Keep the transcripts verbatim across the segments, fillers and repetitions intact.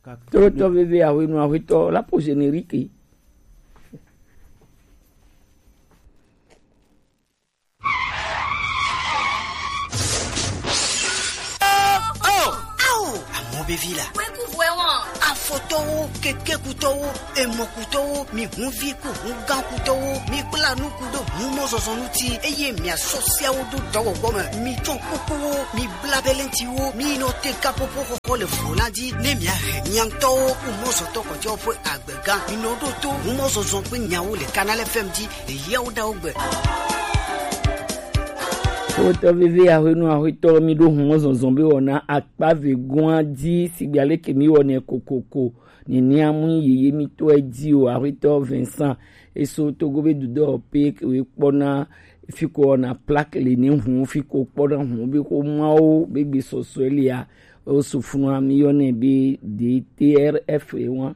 Tolotɔ veve ahwenu ahwetɔ la po générique. Oh, oh, oh, amɔ be vi la. Kweku vɔɛ wɔn. Afɔtɔwo, kekekutɔwo, emɔkutɔwo, mi hunvi ku hungãkutɔwo, mi kpla nuku ɖo humɔzɔzɔ ŋuti, eye miasɔ siawo do dɔwɔwɔ me. Mi tsɔ kukuwo, mi bla belentiwo, mi nɔ te kapopo xɔxɔ le vo la dzi, ne miahe miaŋtɔwo humɔzɔtɔ kɔtɛwo ƒe agbega. Mi nɔ ɖo to humɔzɔzɔ ƒe nyawo le Canal F M dzi, le yawo ɖawo gbe. Wotɔ veve ahwenu ahwetɔ mi ɖo humɔzɔzɔ be wɔna akpa ve goa dzi sigbe aleke mi wɔnɛ kokoko. Nenia mu yeye mi tɔe dzi o, aƒetɔ Vincent. Eso togo be dudɔ pe we kpɔna fiko na plaque le ne hu fiko kpɔna hu be ko mawo be gbe sɔsɔe lia. O sufunu mi yɔnɛ be D T R F e wa.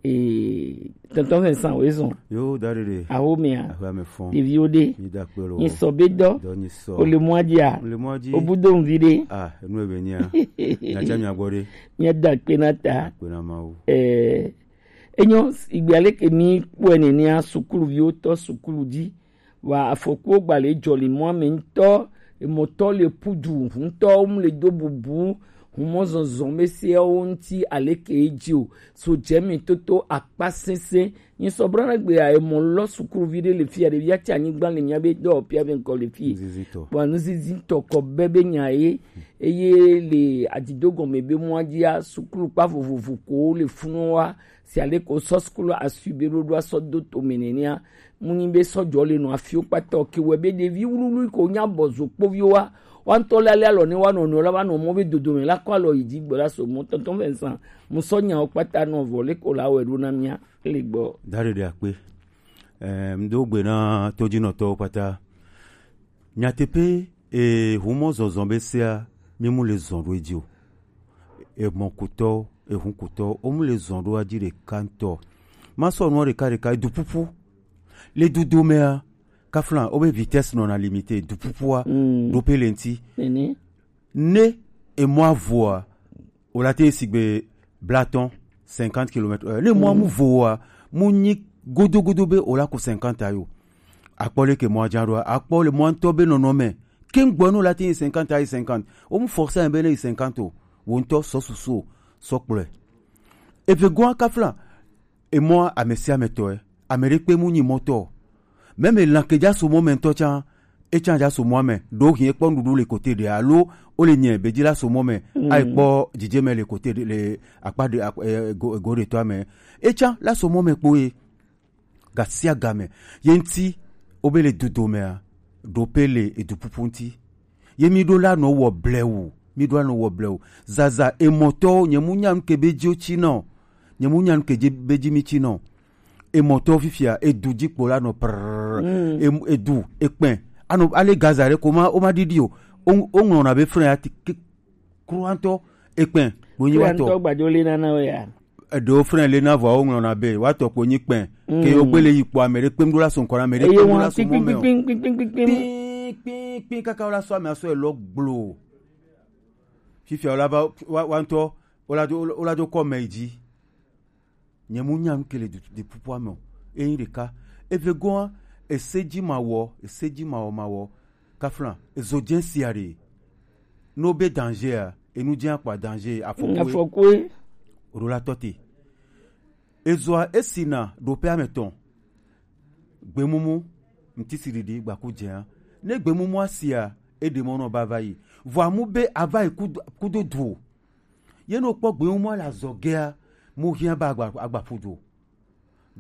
Eh, tonton Vincent, we zɔn. Yo, da ɖeɖe. Awo mea. Awo ame fɔn. Ɖeviwo ɖe. Mi da kpe lo. Nyi sɔ be dɔ. Dɔ nyi sɔ. O le mɔa dzi a. O le mɔa dzi. O bu do nvi ɖe. Ah, enu ebe nya. Nya tsa mi agbɔ ɖe. Mia da kpe na ta. Kpe na Mawu. Eh, enyo, igbe aleke mi kpɔe nenia, sukuluviwo tɔ sukulu dzi. Wa afɔkuwo gba le dzɔ le mɔa me ŋutɔ, emɔtɔ le pudu ŋutɔ, wo mu le do bubu, humɔzɔzɔ me seawo ŋuti aleke edzi o. So dze mi toto akpa sese. Nyi sɔ brana gbe ya emɔ lɔ sukuluvi ɖe le fia, ɖevia tsi anyigba le mia be dɔwɔƒea be ŋkɔ le fie. Nuzizitɔ. Wa nuzizitɔ kɔ be be nya ye, eye le adido gɔme be mɔa dzia, sukulu kpa vovovo ko le funu wa, si ale ko sɔ sukulu asui be ɖoɖo asɔ do to me nenea, mu nyi be sɔjɔ le nɔ afiwo kpata o, ke wɛ be ɖevi wluwlui ko nya bɔ zo kpoviwo wa, wa ŋutɔ le ale alɔ ne wa nɔnɔ la va nɔ mɔ be dodome la kɔ alɔ yi dzi gbe la so mɔ tɔntɔn Vincent, mu sɔ nyawo kpata nɔ vɔ le ko la wɛ ɖo na mia le gbɔ. Da ɖeɖe akpe. Eh, mdo gbe na todzinɔtɔwo kpata. Nyateƒe, eh, humɔ zɔzɔ be sea, mi mu le zɔn ɖo edzi o. Emɔkutɔ, ehunkutɔ, wo mu le zɔn ɖo adzi ɖeka ŋutɔ. Ma sɔ nua ɖeka ɖeka, edu ƒuƒu. Le dudo mea, kafla, wo be vitesse nɔna limité, du ƒuƒua, mm, ɖo pe le ŋuti. Nene. Ne emɔa voa, o la te sigbe blatɔn, cinquante kilomètres heure. Ne mɔa mu voa, mu nyi godo godo be o la ko cinquante ayo. Akpɔ le ke mɔa dza ɖoa, akpɔ le mɔa ŋutɔ be nɔnɔme. Ke ŋgbɔ no la te yi cinquante ayi cinquante. O mu forcer be ne yi cinquante o. Wo ŋutɔ sɔ susu o, sɔ kplɔe. Eve goa kafla, emɔa ame sia ame tɔe. Ame ɖe kpe mu nyi mɔtɔ. Mɛmɛ lan ke dza so mɔ mɛ ŋutɔ tsa, e tsa dza so mɔa mɛ. Ɖo hin ekpɔ nuɖuɖu le kote ɖe alo o le nyɛ be dzi la so mɔ mɛ. Mm. Ayi kpɔ dzidzeme le kote ɖe le akpa ɖe ak-, eh, go, go ɖe tɔa mɛ. E tsa la so mɔ mɛ kpo ye. Ga sia ga me. Ye ŋuti, wo be le dudo mea, ɖo pe le edu ƒuƒu ŋuti. Ye mi ɖo la nɔ wɔ blewu, mi ɖo la nɔ wɔ blewu. Zaza emɔtɔwo, nye mu nya nu ke be dzi wo tsi nɔ. Nye mu nya nu ke dzi be dzi mi tsi nɔ. Emɔtɔwo fifia, edu dzi kpo la nɔ prrrr. Mm. Em-, edu, ekpɛ. Anɔ, ale Gaza ɖe ko ma, o ma ɖiɖi o. O, o ŋlɔna be frein ati ke-, kruantɔ, ekpɛ, ɖo nyi wa tɔ. Kruantɔ gbadzo le nana wo ya. Eɖewo frein le na vɔa wo ŋlɔna be, wa tɔ kpo nyi kpɛ. Mm. Ke yo gbele yi kpɔ ame ɖe kpem ɖo la so ŋkɔ na ame ɖe kpem ɖo la so mɔ mɛ o. Kpin, kpin, kpin, kpin, kpin, kpin. Kpin, kpin, kpin, kaka wo la so ame aso elɔ gblo. Fifia wo la va, wa, wa ŋutɔ, wo la do, wo la do kɔ mɛ yi dzi. Nye mu nya nu ke le du, du ƒuƒua me o. Eyin ɖeka. Eve goa, ese dzi ma wɔ, ese dzi ma wɔ, ma wɔ. Kafla, ezo dze sia ɖe. No be danger a, enu dze akpa danger, afɔku. Afɔku. O ɖo la tɔ te. Ezoa esina ɖo pe ame tɔn. Gbemumu, ŋutisiɖiɖi, gbaku dzea. Ne gbemumua sia, eɖe mɔ nɔ ba va yi. Vɔa mu be ava yi kudo, kudo du o. Ye no kpɔ gbewo mɔ le azɔgea, mo hiã ba agba, agba ƒu do.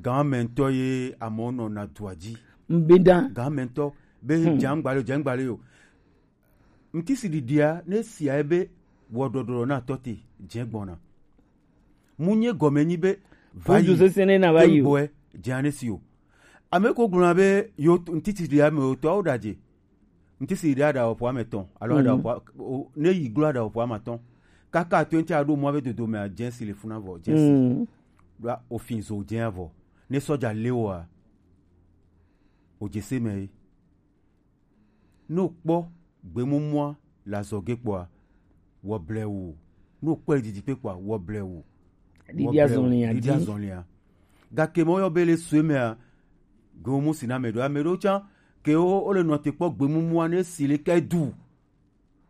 Gã mɛ ŋutɔ ye amewo nɔna dua dzi. Ŋbenda. Gã mɛ ŋutɔ be, hmm, dze ŋgba le, dze ŋgba le yo. Ŋutisiɖiɖia, ne sia ebe wɔɖɔɖɔ na tɔ te, dze gbɔna. Mu nye gɔme nyi be, va yi. Kudu sesẽ ne na va yi o. Gbɔe, dze ane si o. Ame ko gblɔna be, yo, ŋutisiɖiɖia me o tɔwo ɖadze. Ŋutisiɖiɖi aɖa ƒo ame tɔn, alo aɖa ƒo a-, o, ne yi glo aɖa ƒo ame atɔn. Kaka atɔn ŋuti aɖo mɔ be dodo me a, dze si le funa vɔ, dze si. Mm. Ɖo ofin zo dze vɔ. Ne sɔdza le woa, o dze se me ye. Ne o kpɔ gbemumua le azɔge kpɔa, wɔ blewu. Ne o kpɔe le didi kpe kpɔa, wɔ blewu. Ɖiɖi azɔlia ɖiɖi azɔlia. Gake mɔ yɔ be le sue mea, go mu si na ame ɖo ame ɖo tsa ke wo wo le nɔ te kpɔ gbemumu ane si le ke du.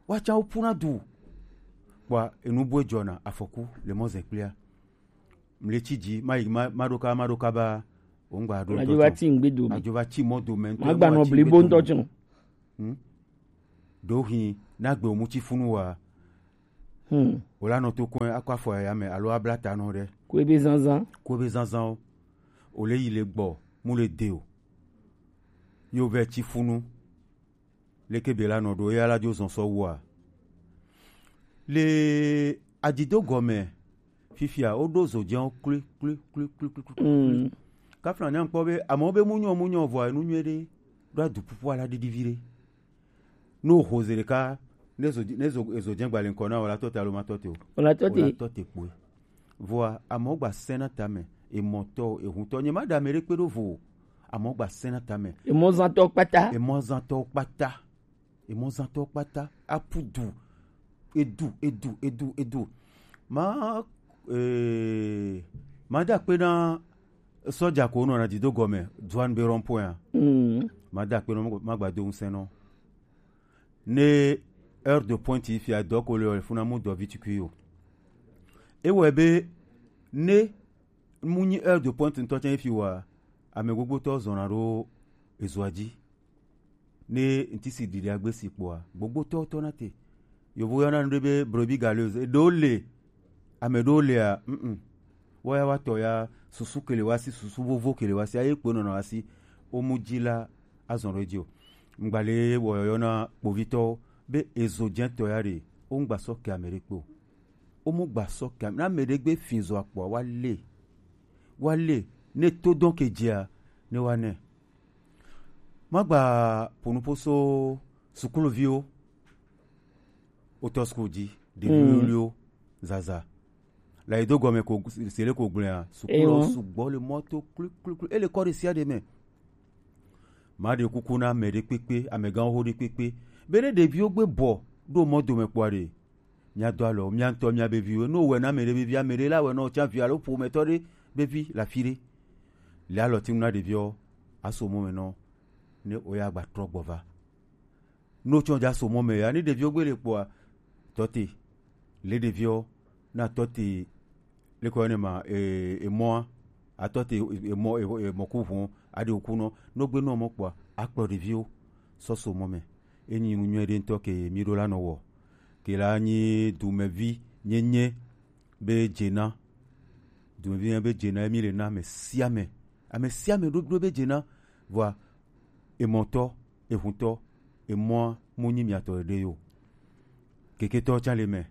Wa tsa wo puna du. Kpɔa enu boe dzɔna afɔku le mɔ zɛ kplia. Mle tsi dzi ma yi ma ma ɖo ka ma ɖo ka ba. Wo ŋgba ɖo. Adzo va ti ŋgbe do me. Adzo va ti mɔ do me. Ma gba nɔ blibo ŋutɔ tsɔ. Hmm? Ɖo hin na gbe omu tsi funu wa. Hmm. Wòle anɔ to kɔe akɔ afɔ yaya me alo abla ta nɔ ɖe. Kue be zanzan. Kue be zanzanwo. Wòle yi le gbɔ mu le de o. Yo vɛ tsi funu. Leke be la nɔ ɖo eya la dzo zɔn sɔ wua. Le adido gɔme fifia woɖo zodzewo kli kli kli kli kli kli. Mm. Kafla nya kpɔ be amewo be mu nyɔ mu nyɔ vɔa enu nyuie ɖe ɖo adu pupu ala ɖiɖi vi ɖe. Ne wòho zi ɖeka, ne zo ne zo ezo dze gbalẽ ŋkɔ na wò la tɔ te alo ma tɔ te o. Wòla tɔ te. Wòla tɔ te kpoe. Vɔa amewo gba sẽ na tame, emɔtɔ o, ehuntɔ. Nye ma ɖe ame ɖe kpe ɖo vo o. Amewo gba sẽ na tame. Emɔzãtɔ kpata. Emɔzãtɔ kpata. Emɔzãtɔ kpata. Apu du. Edu, edu, edu, edu. Ma, eh, ma da kpe na sɔdza ko nɔ na dido gɔme, Duane be rond-point a. Mm. Ma da kpe nɔ ma gba do ŋusẽ nɔ. Ne heure de pointe yi fia dɔ ko le o funa mu dɔ vitukui o. Ewɔe be ne mu nyi heure de pointe ŋutɔ tsɛ fi wa ame gbogbotɔ zɔna ɖo ezoa dzi. Ne ŋtisi ɖiɖi agbe si kpɔa gbogbotɔ tɔ na te. Yovo yɔna nu ɖe be brebis galeuse. Ɖewo le ame ɖewo lea mm. Woya wa tɔ ya susu kele wa si susu vovo kele wa si aye kpe nɔnɔ wa si. Wo mu dzi la azɔn ɖe dzi o. Ŋgba le wɔyɔyɔ na kpovitɔwo be ezo dze tɔ ya ɖe wo ŋgba sɔ ke ame ɖe kpe o. Wo mu gba sɔ ke ame na ame ɖe gbe fin zɔ akpɔa wa le wa le ne to dɔn ke dzia ne wa nɛ. Ma gba ƒo nuƒo so sukuluviwo wotɔ sukulu dzi ɖevi wluwluwo zaza. La yi do gɔme ko sele ko gblɔa sukulu sugbɔ le mɔ to kliklikli ele kɔ ɖe sia ɖe me. Ma ɖe kuku na ame ɖe kpekpe amegãwo ɖe kpekpe be ne ɖeviwo gbe bɔ ɖo mɔ dome kpɔa ɖe. Mía do alɔ mía ŋutɔ mía be viwo. Ne wowɔe na ame ɖe be vi, ame ɖe la wɔe na wò tsã vi alo ƒometɔ ɖe be vi le afi ɖe. Le alɔtinu na ɖeviwo aso mɔ me nɔ ne woya gba trɔ gbɔ va. Ne wotsɔ dza so mɔ me ya ne ɖeviwo gbe le kpɔa tɔte le ɖeviwo na tɔte le kɔ ne ma e emɔa atɔte emɔ emɔ ku ʋu aɖe oku nɔ no gbe nɔ mɔ kpɔa akplɔ ɖeviwo sɔ so mɔ me. Enyi nu nyuie ɖe ŋutɔ ke mi ɖo la nɔ wɔ ke la nyi dumevi nyenye be dzena dumevi nyenye be dzena mi le na ame sia ame ame sia ame ɖo ɖo be dzena vɔa emɔtɔ ehuntɔ emɔa mu nyi miatɔ ɖe yo. Keketɔ tsa le me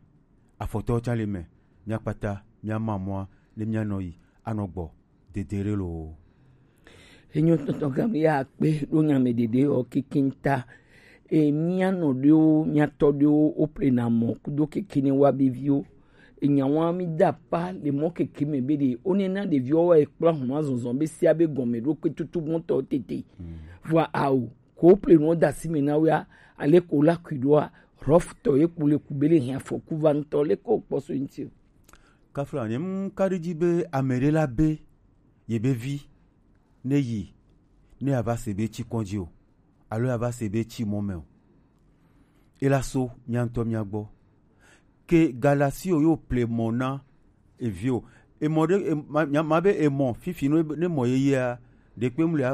afɔtɔ tsa le me miakpata miama mɔa ne mianɔ yi anɔ gbɔ dedere loo. Enyo tɔntɔn gã mi ya kpe ɖo nya me ɖeɖe ɔ kekin ta. E mia nɔ ɖewo mia tɔ ɖewo wo plena mɔ kudo kekin ne wa be viwo. Enya wa mi da pa le mɔ keke me be ɖe wo ne na ɖeviwo wa ekpla hɔn azɔzɔn be sia be gɔme ɖo kpe tutu gbɔntɔ tete. Vɔa awo ko wo plena wo da si me na wea ale ko la kui ɖoa rɔf tɔ ye ku le ku be le hia fɔku va ŋutɔ le ko kpɔ so ŋuti o. Kafla nye mu ka ɖe dzi be ame ɖe la be ye be vi ne yi ne ava se be tsi kɔdzi o alo ava se be tsi mɔ me o. Ela so mia ŋutɔ mia gbɔ ke galasi o yo ple mɔ na evi o emɔ ɖe ma be emɔ fifi ne mɔ yeyea ɖekpe mu le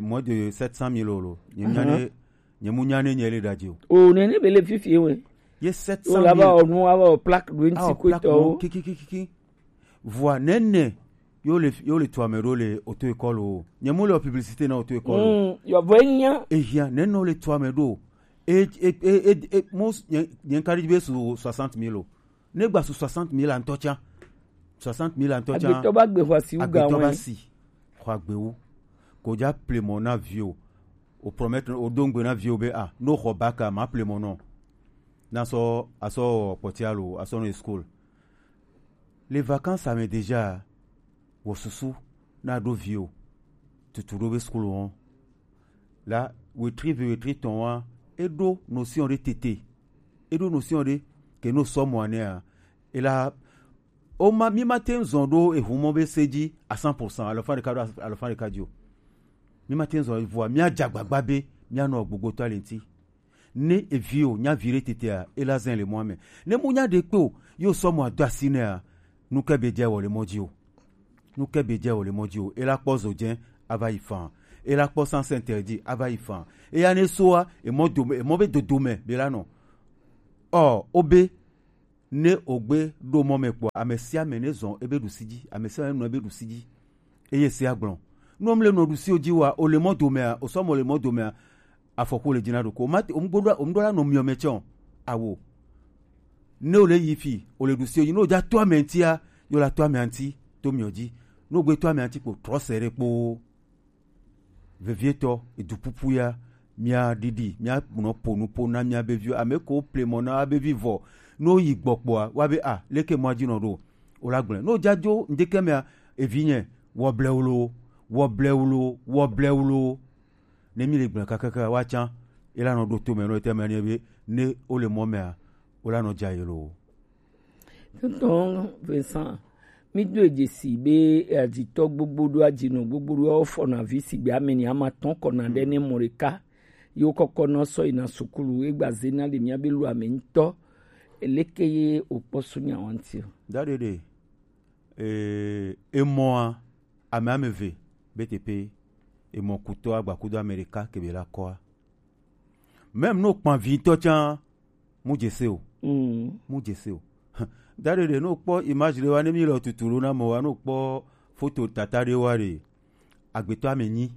mɔ de sept cent mille o lo nye mia ne nye mu nya ne nye le ɖadzi o. O nene be le fifi we ye sept cent mille o la ba o nu ava o plaque ɖo ŋuti ko tɔ o kikikiki. Vɔa nene yo le yo le tu ame ɖo le auto école o nye mu le o publicité na auto école o. Yɔvɔ enya. Ehia nene o le tu ame ɖo e e e e mo nye nka ɖi be su soixante mille o ne gba su soixante mille antɔ tsa soixante mille antɔ tsa agbetɔ ba gbe xɔ asi wu ga agbetɔ ba wɔn si xɔ agbewu ko dza plemɔ na vi o o promettre o do ŋgbe na vi o be a no xɔ baka ma plemɔ nɔ na sɔ asɔ kpɔtia lo asɔ nɔ school. Les vacances ame déjà wɔ susu na ɖo vi o tutu ɖo be school wɔn la wetri ve wetri tɔn wa eɖo notion ɖe tete eɖo notion ɖe ke no sɔ mɔ anea ela O ma, mi ma te ŋu zɔn ɖo ehu mɔ be se ji à cent pour cent, alɔfa ɖeka ɖo alɔfa ɖeka ji o. Mi ma te ŋu zɔn, vɔa mi a dze agbagba be mi a nɔ gbogbo to ali ŋuti. Ne evi o nya vi ɖe tetea, e la zɛn le mɔa mɛ. Ne mu nya ɖe kpe o, yo sɔ mɔ ado asi nɛa, nu ke be dze wɔ le mɔ ji o. Nu ke be dze wɔ le mɔ ji o. E la kpɔ zo dze ava yi fan. E la kpɔ sans interdit ava yi fan. E ya ne soa, e mɔ do, e mɔ be dodo mɛ be la nɔ. Ɔ, o be ne o gbe ɖo mɔ mɛ kpɔa, ame sia ame ne zɔn ebe ɖusi ji, ame sia ame nɔ ebe ɖusi ji. Eye se agblɔ. Ne o mle nɔ ɖusi o ji wa, o le mɔ domea, o sɔ mɔ le mɔ domea, afɔku le dzi na ɖoko. O ma te, o mu gbo ɖo, o mu ɖo la nɔ miɔ mɛ tsɛ o. Awo. Ne o le yi fi, o le ɖusi o ji. Ne o dza to ame ŋutia, yo la to ame ŋuti, to miɔ ji. Ne o gbe to ame ŋuti kpo, trɔ se ɖe kpoo. Vevietɔ, edupupu ya, mia ɖiɖi, mia nɔ po nupo na mia be viwo. Ame ko ple mɔ na be vi vɔ. No yi gbɔ kpɔa, wa be a, leke mɔ dzi nɔ ɖo. O la gblẽ. No dzadzo ŋdeke mea, evi nye, wɔ blewlo, wɔ blewlo, wɔ blewlo. Ne mi le gblẽ kakaka wa tsã, e la nɔ ɖo to me nɔ ete me ne be, ne o le mɔ mea, o la nɔ dza ye lo. Tonton Vincent, mi do dzesi be adzitɔ gbogbo ɖo adzinɔ gbogbo ɖo fɔna vi sigbe ame ni ama tɔn kɔna ɖe ne mɔ ɖeka. Yo kɔkɔ nɔ sɔ yina sukulu egba zena le mia be lu ame ŋutɔ. Eleke ye o kpɔ su nya wanti o? Da ɖeɖe. Ee, emɔa, ame ame eve be teƒe, emɔ kutɔ agbakudo ame ɖeka kebe la kɔa. Même no kpan vi ŋutɔ tsã, mu dze se o. Mm. Mu dze se o. Da ɖeɖe, no kpɔ image ɖe wa, ne mi le tutu ɖo na mɔ wa, no kpɔ foto tata ɖe wa ɖe. Agbetɔ ame nyi.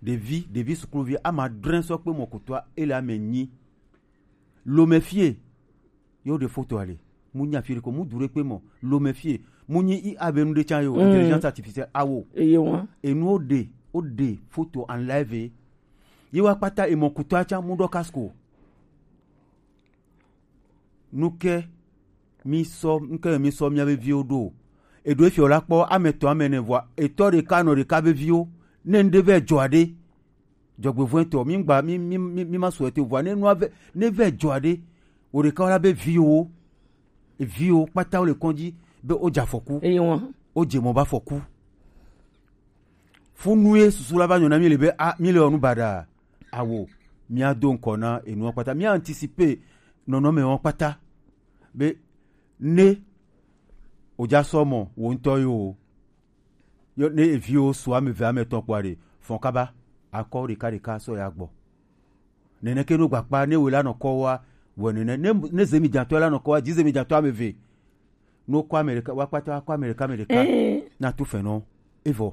Ɖevi, ɖevi sukluvi ama adre sɔ kpe mɔ kutɔa, ele ame nyi. Lome fie, yo ɖe foto ale. Mu nya fi ɖe ko, mu du ɖe kpe mɔ. Lome fie, mu nyi I A be nu ɖe tsã yo, mm, intelligence artificielle, awo. Eye wa. Enu o ɖe, o ɖe foto en live. Ye wa kpata emɔ kutɔa tsã mu ɖɔ casque o. Nuke mi sɔ, nuke mi sɔ mia be viwo ɖo? Eɖo efiɔ la kpɔ ame tɔ ame ne vɔa, etɔ ɖeka nɔ ɖeka be viwo. Ne ŋɖe vɛ dzɔ aɖe, dzɔgbevɔ̃etɔ, mi ŋgba, mi, mi, mi, mi ma sɔ ete vɔa, ne nua vɛ, ne vɛ dzɔ aɖe, o ɖeka la be viwo, viwo kpata wo le kɔndzi be o dza afɔku. Eye wa. O dze mɔ ba afɔku. Funu ye susu la va nyɔ na mi le be, a, mi le wɔ nu baɖa. Awo, mia do ŋkɔ na enua kpata. Mia anticiper nɔnɔme wɔn kpata. Be ne o dza sɔ mɔ, wo ŋutɔ yo o. Yo, ne eviwo su ame eve, ame etɔ̃ kpɔa ɖe, fɔn kaba, akɔ ɖeka ɖeka sɔ ya gbɔ. Nene ke no gbakpa, ne wo la nɔ kɔ wa, wɔ nene. Ne, ne zemi dzatɔ la nɔ kɔ wa, dzi zemi dzatɔ ame eve. No kɔ ame ɖeka, wa kpata wa kɔ ame ɖeka, ame ɖeka. Eh. Na tu fɛnɔ. Evɔ.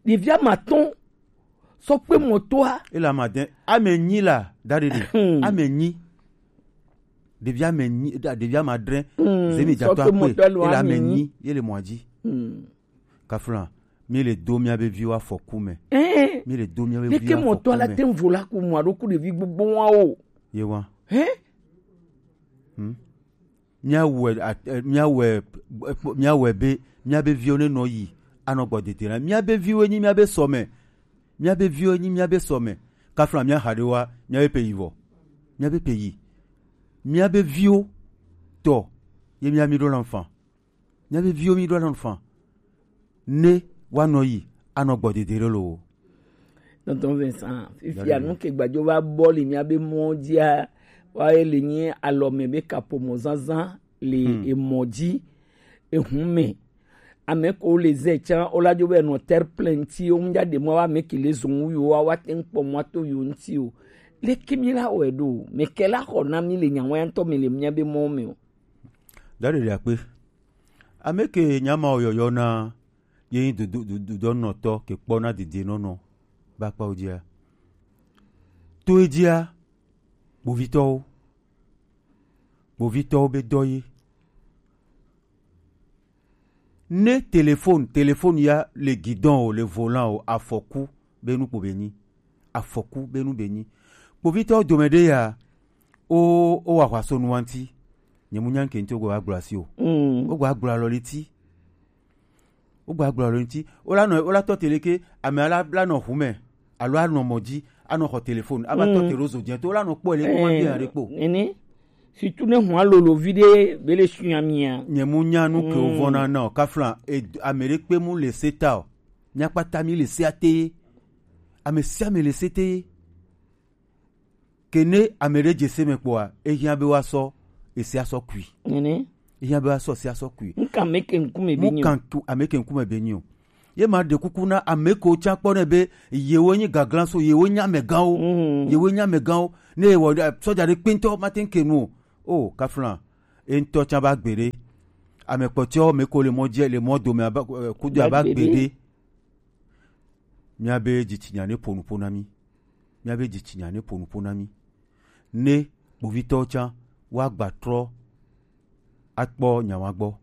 Ɖevi ame atɔ̃ sɔ kpe mɔtoa. Ele ame ade, ame nyi la, da ɖeɖe. Hmm. Ame nyi. Ɖevi ame nyi, da-, ɖevi ame adre. Hmm. Zemi dzatɔ akpe. Ele ame nyi, ye le mɔa dzi. Hmm. Kafla, mi le do mia be viwo afɔku me. Eh. Mi le do mia be viwo afɔku me. Leke mɔtoa la te ŋu la ku mɔ aɖo ku ɖevi gbogbo wa o. Ye wa. Eh? Hmm. Míawɔe at-, eh, míawɔe, eh, míawɔe be míabe viwo nenɔ yi anɔ gbɔ dedena. Míabe viwoe nyi míabe sɔme. Míabe viwoe nyi míabe sɔme. Kafla míaxa ɖe wa, míabe pe yi vɔ. Míabe pe yi. Míabe viwo tɔ ye mía mí ɖo la nfa. Míabe viwo mí ɖo la nfa. Ne woanɔ yi anɔ gbɔ dedena lo. Tonton Vincent, fifia nu ke gbadzo va bɔ le míabe mɔ dzia, wa ye le nyi alɔme be kaƒomɔ zazã le emɔ dzi, ehun me. Ame ko le zɛ tsã, wo la dzo be nɔ terre pleine ŋuti, wo ŋdza ɖe mɔ wa ame ke le zɔn wu yo wa, wa te ŋkpɔ mɔ to yo ŋuti o. Leke mi la wɔe ɖo? Meke la xɔ na mi le nya wa ŋutɔ me le míabe mɔ me o. Da ɖeɖe akpe. Ame ke nya ma yɔyɔ na ye nyi dudu, du-, dudɔnɔtɔ ke kpɔna dedienɔnɔ ba kpawo dzia. To edzia, kpovitɔwo, kpovitɔwo be dɔ ye. Ne téléphone, téléphone ya le guidon o, le volant o, afɔku be nu kpo be nyi. Afɔku be nu be nyi. Kpovitɔwo dome ɖe ya, o, o wa xɔ aso nu wa ŋuti. Nye mu nya ŋke ŋuti wo gba gblɔ asi o. Mm. Wo gba gblɔ alɔ le ŋuti. Wo gba gblɔ alɔ le ŋuti. Wo la nɔ, wo la tɔ te leke, ame ala la nɔ hu me. Alo anɔ mɔ dzi, anɔ xɔ téléphone, ava tɔ te ɖo zo dzi to, wo la nɔ kpɔ le kuma bi aɖe kpo. Nene. Surtout ne hua lolo vi ɖe be le sunya mia. Nye mu nya nu ke wo vɔna na o. Kafla, e, ame ɖe kpe mu le se ta o. Mia kpata mi le se ate. Ame sia ame le se te. Ke ne ame ɖe dze se me kpɔa, ehiã be woasɔ ese asɔ kui. Nene. Ehiã be woasɔ ese asɔ kui. Nka me ke ŋkume be nyo. Mu kan ku ame ke ŋkume be nyo. Ye ma ɖe kuku na ame ko tsa kpɔ ne be yewo nyi gaglan so, yewo nyi amegãwo. Mhm. Yewo nyi amegãwo. Ne wɔ sɔja ɖe kpɛntɔ mate ŋu ke nu o. O, kafla. E ŋutɔ tsa ba gbe ɖe. Ame kpɔtɔewo me ko le mɔ dzi, le mɔ dome aba, eh, kudo aba gbe ɖe. Míabe dzitsinya ne ƒo nuƒo na mí. Míabe dzitsinya ne ƒo nuƒo na mí. Ne kpovitɔwo tsã woagba trɔ akpɔ nyawa gbɔ.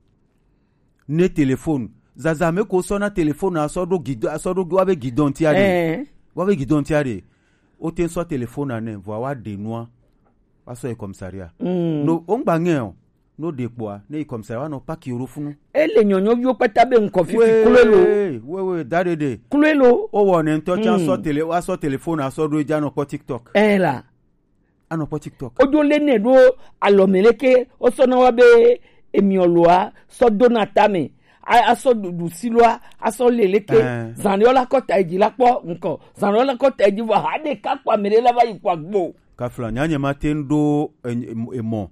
Ne telefon, zazã me ko sɔ na telefon asɔ ɖo gidɔ, asɔ ɖo woabe gidɔ ŋuti aɖe. Ɛɛ. Woabe gidɔ ŋuti aɖe. Wote ŋu sɔ telefon nɛ, vɔa woaɖe nua, woasɔ yi kɔmisaria. Mm. No, wongba ŋɛ o. No ɖe kpɔa, ne yi kɔmisaria, woanɔ paki wo ɖo funu. Ele nyɔnyɔviwo kpata be ŋkɔ fifi kloe lo. Wee, wee, da ɖe ɖe. Kloe lo. Wowɔ ne ŋutɔ tsã sɔ tele, woasɔ telefon asɔ ɖo edzi anɔ kpɔ TikTok. Ɛɛ la. Anɔ kpɔ TikTok. Wodzo lé nɛ ɖo alɔme leke, wosɔ na wa be emiɔ loa, sɔ do na tame. A, asɔ ɖuɖu si loa, asɔ le leke. Ɛɛ. Zan ɖe la kɔ ta edzi la kpɔ ŋkɔ. Zan ɖe la kɔ ta edzi vɔ, ha ɖeka kpɔ ame ɖe la va yi kpɔ agbo. Kafla, nyanye ma te ŋu ɖo e, e, emɔ.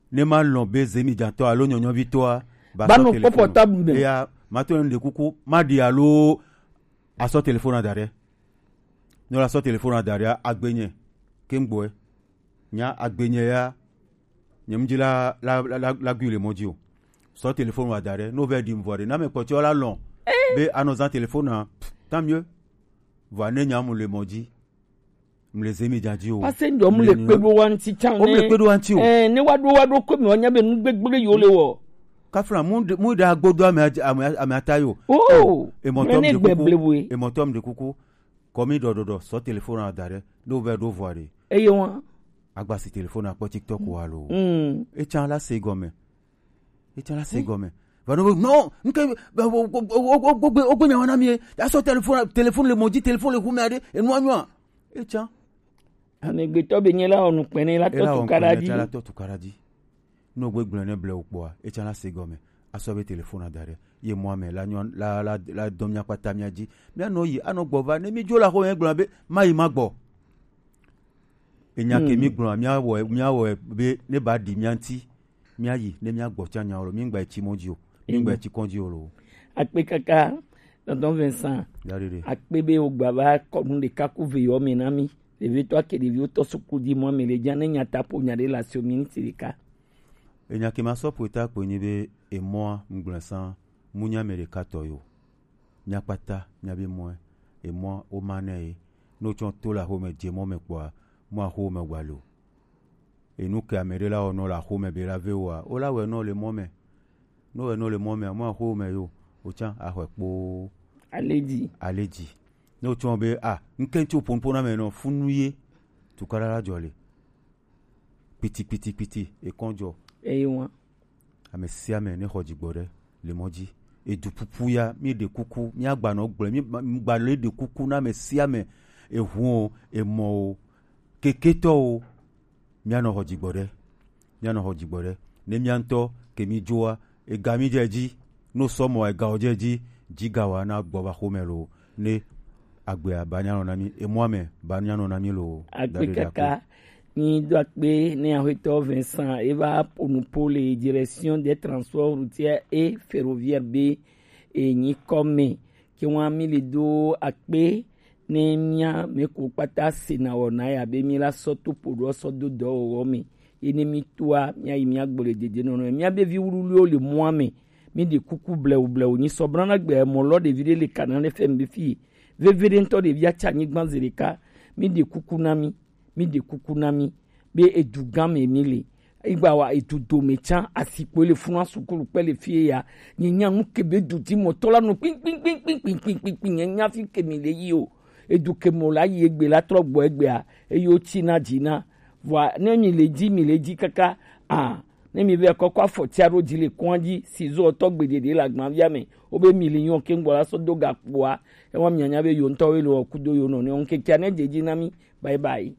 Ne ma lɔn be zemidzatɔ alo nyɔnyɔvitɔa, ba ba sɔ nɔ telefon kpɔ portable me. Eya, ma to ne ɖe kuku, ma ɖi alo asɔ telefon da ɖe. Ne la sɔ telefon da ɖe, agbenye, ke ŋgbɔe. Nya agbenye ya, nye mu dzi la, la, la, la, la gui le mɔ dzi o. Sɔ telefon wa da ɖe, no vɛ ɖi mvɔ ɖe, na me kpɔtɔ la lɔn. Eh. Be anɔ zan telefon na, pff, tant mieux. Vɔ ne nya mu le mɔ dzi. Mle zemi dzadzi o. Parce que ndo mle kpe ɖo wa ŋuti tsan. O mle kpe ɖo wa ŋuti o. Eh, ne wa ɖo wa ɖo ko mi wa nya be nu gbegble yo le wɔ. Kafla mu de, mu da gbodo ame adzi, ame, ame ata yo. Oh, emɔtɔ mle ne mi de kuku. Gbegble we. Emɔtɔ mi de kuku. Kɔmi dɔdɔdɔ sɔ telefon na da ɖe. Do vɛ do vɔ ɖe. Eye wa. Agbasi telefon akpɔ TikTok wa lo. Mm. Etsan la se gɔme. Etsa la se gɔme. Va no, no, nke, ogbe nyawa na mi. Asɔ telefon, telefon le mɔ dzi, telefon le hume aɖe, enua nyɔa. Etsa. Amegbetɔ be nye la wɔ nukpɛnɛ la tɔ tukaɖa dzi. La tɔ tukaɖa dzi. No gbe gblɔ ne ble o kpɔa, etsa la se gɔme. Asɔ be telefon da ɖe. Ye mɔ ame la nyɔ, la, la, la dɔn mia kpata mia dzi. Mia nɔ yi, anɔ gbɔ va, ne mi dzo la xɔ yɛ gblɔ be, ma yi ma gbɔ. Enya ke mi gblɔ, mia wɔ, mia wɔ be, ne ba ɖi mia ŋuti. Míayi ne míagbɔ tsã nya lo, míŋgba etsi mɔ dzi o, míŋgba etsi kɔn dzi o lo. Akpe kaka, tonton Vincent. Akpe be wogba va kɔnu ɖeka ku ve yɔ me na mí. Ɖevitɔ ake ɖeviwo tɔ suklu dzi mɔ me le dza ne nya ta ƒo nya ɖe le asi o miniti ɖeka. Enya ke ma sɔ ƒo ta kpo nyi be emɔa ŋgblẽ sã mu nya me ɖeka tɔ yo. Mía kpata mía be mɔe, emɔ wo ma nɛ ye. Ne wotsɔ to le axome dze mɔ me kpɔa, mɔ axo me gba lo. Enu ke ame ɖe la wɔ nɔ le axome be la ve woa, wo la wɛ nɔ le mɔ me. Ne wɛ nɔ le mɔ me, mɔ axo me yo, wotsã axɔe kpoo. Ale dzi. Ale dzi. Ne wotsɔ be a, ŋkɛntsi wo ponpo na me nɔ funu ye, tukaɖa la dzɔ le. Kpiti, kpiti, kpiti, ekɔn dzɔ. Eye wa. Ame sia ame ne xɔ dzigbɔ ɖe le mɔ dzi. Edu pupu ya, mi ɖe kuku, mi agba nɔ gblɔe, mi gba le ɖe kuku na ame sia ame. Ehu o, emɔ o, keketɔ o, mia nɔ xɔ dzigbɔ ɖe. Mia nɔ xɔ dzigbɔ ɖe. Ne mia ŋutɔ ke mi dzoa, ega mi dze dzi. No sɔ mɔ ega o dze dzi, dzi ga wa na gbɔ va xome lo. Ne agbea ba nya nɔ na mi, emɔa me ba nya nɔ na mi lo. Akpe kaka. Ni do akpe ne axɔetɔ Vincent eva ƒo nu ƒo le direction des transports routiers et ferroviaires be enyi kɔme. Ke wa mi le do akpe ne mia me ko kpata se na wɔ na ya be mi la sɔ to ƒo ɖo sɔ do dɔwɔwɔ me. Ye ne mi toa, mia yi mia gbɔ le dede nɔnɔ. Mia be vi wuluwuluwo le mɔa me. Mi ɖe kuku blewu blewu. Nyi sɔ brana gbe mɔ lɔ ɖevi ɖe le kana le fɛn be fi. Veve ɖe ŋutɔ ɖevi atsa anyigba zi ɖeka. Mi ɖe kuku na mi. Mi ɖe kuku na mi. Be edu gã me mi le. Egba wa edu dome tsã asikpo le funu sukulu kpe le fie ya. Nye nya nu ke be du di mɔtɔ la nɔ kpin kpin kpin nye nya fi ke mi le yi o. Edu ke mɔ la yi egbe la trɔ gbɔ egbea. Eye wotsi na dzi na. Vɔa ne mi le dzi, mi le dzi kaka. Ah, ne mi be kɔkɔ afɔ tia ɖo dzi le kɔn dzi, si zɔ tɔ gbeɖe ɖe le agbavia me. Wo be mi le nyɔ ke ŋgbɔ la sɔ do ga kpoa. Ewa mi anya be yo ŋutɔ wo le wɔ kudo yo nɔ ne ŋkekea ne dze dzi na mi. Bye bye.